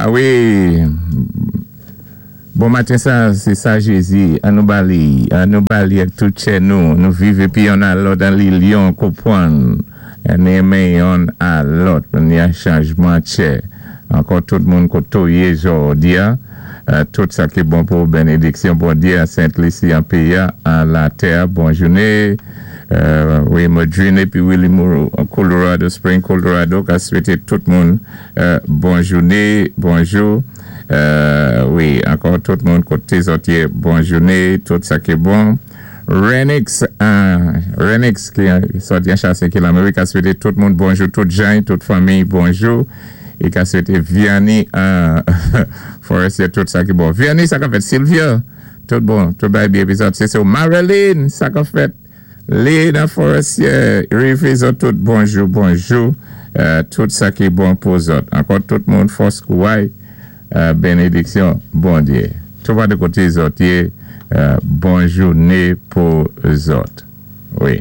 A wi, bon maten sa, sé sa Jézi, an nou ba li, an nou ba li ak tout tchè nou, nou viv épi yonn a lòt an lilyon, konpwann, an enmen yonn a lòt, ni an chanjman tchè. Ankò tout moun koté w yé jòdi a, tout sa ki bon pou benediksyon Bondyé an Sent Lisi an péyi a, an latè a, bon jouné. Wi, Modrine épi Willy Moreau an Colorado Spring, Colorado, ka swété tout moun bon jouné, bonjou. Wi, ankò tout moun koté zòt yé, bon jouné, tout sa ki bon. Renix, Renix ki sòti an Chasé ki Lanmerik ka swété tout moun bonjou, tout jany, tout fanmiy bonjou. I ka swété Vianney an Forestier tout sa ki bon. Vianney sa k ap fèt? Sylvia, tout bon, tout bagay byen épi zòt sé se Marilyn, sa k ap fèt? Lena Forestier, rivé zòt tout bonjou, bonjou, tout sa ki bon pou zòt. Ankò tout moun fòs kouway, benediksyon Bondyé. Toupatou koté zòt yé, bon jouné pou zòt. Wi.